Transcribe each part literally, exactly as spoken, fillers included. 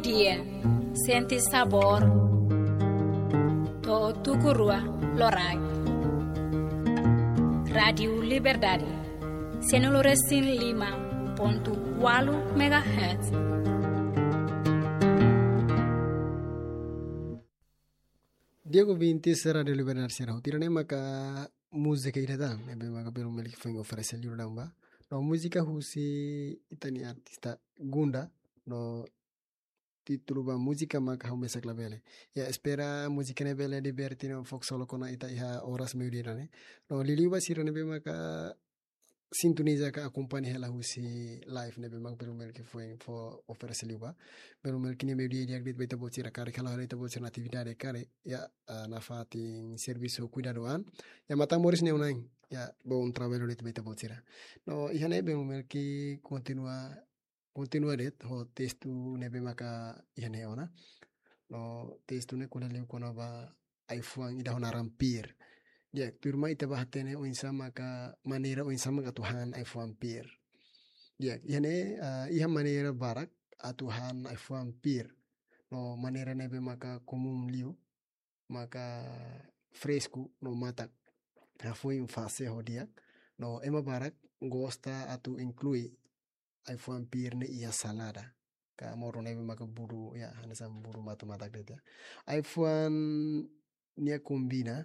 Di'ak, sente sabór. To'o tuku rua loraik. Rádiu Liberdade, sianulu resin lima pontu ualu megahertz. Di'ak ouvintes Rádiu Liberdade sira, hotu sira ne'e maka múzika ida tan ne'ebé maka Belu Melki foin oferese liu daudaun ba. No múzika husi ita-nia artista Gunda, no títulu ba múzika maka Ha'u Mesak Labele. Ya, espera múzika ne'e bele liberte no fó ksolok ona ita iha oras meiudia ne'e. No liuliu ba sira ne'ebé maka sintoniza ka akompaña hela husi live ne'ebé maka Belu Melki foin fó oferese liu ba. Belu Melki nia meiudia di'ak de'it ba ita-boot sira karik halo hela ita-boot sira-nia atividade karik, ya, ah, nafatin servisu kuidadu an. Ya, matan moris ne'e oan, ya, bom trabalho de'it ba ita-boot sira. No iha ne'e Belu Melki kontinua, kontinua de'it ho testu ne'ebé maka iha ne'e ona. No testu ne'e ko'alia liu kona-ba ai-fuan ida ho naran pir. Di'ak, tuirmai ita bá hatene oinsá maka maneira oinsá maka atu han ai-fuan pir. Di'ak, iha ne'e, ah, iha maneira barak atu han ai-fuan pir. No maneira ne'ebé maka komún liu, maka fresku no matak. Hafoin fase ho di'ak. No ema barak gosta atu inklui ai-fuan pir ne'e iha salada ka modo ne'ebé maka budu, ya, hanesan budu matak-matak de'it, ya. Ai-fuan ne'e kombina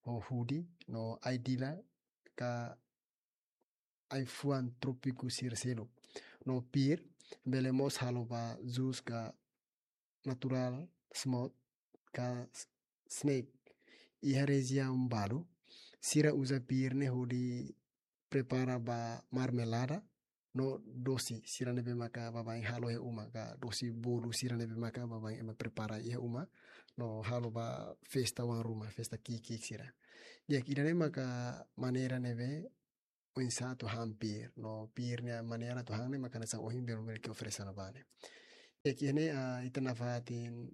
ho hudi no ai-dila ka ai-fuan trópiku sira seluk. No pir bele mós halo ba jus ka natural, smoothie ka s-, snack. Iha rejiaun balu sira uza pir ne'e hodi prepara ba marmelada no dosi sira ne'ebé maka baibain halo iha uma, ka dosi bolu sira ne'ebé maka baibain ema prepara iha uma no halo ba festa oan ruma, festa ki'ik-ki'ik sira. Di'ak, ida-ne'e maka maneira ne'ebé oinsá atu han pir, no pir nia maneira atu han ne'e maka hanesan ohin Belu Melki oferese ona ba ne'e. Di'ak, iha ne'e, ah, ita nafatin,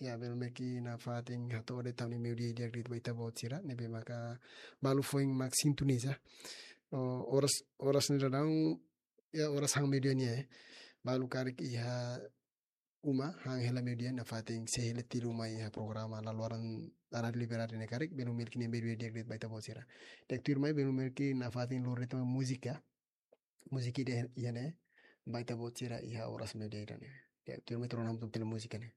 ya, Belu Melki nafatin hato'o de'it tan nia meiudia di'ak de'it ba ita-boot sira ne'ebé maka balu foin mak sintoniza. No oras, oras ne'e daudaun, ya, oras han meiudia nian, eh. Balu karik iha uma, han hela meiudia, nafatin sei hela tiha uma iha programa La Luaran Rádiu Liberdade ne'e karik, Belu Melki nia meiudia di'ak de'it ba ita-boot sira. Di'ak, tuirmai Belu Melki nafatin lori tan múzika, múzika ida iha ne'e ba ita-boot sira iha oras meiudia ida-ne'e. Di'ak, tuirmai tuur ona hamutuk tiha múzika ne'e.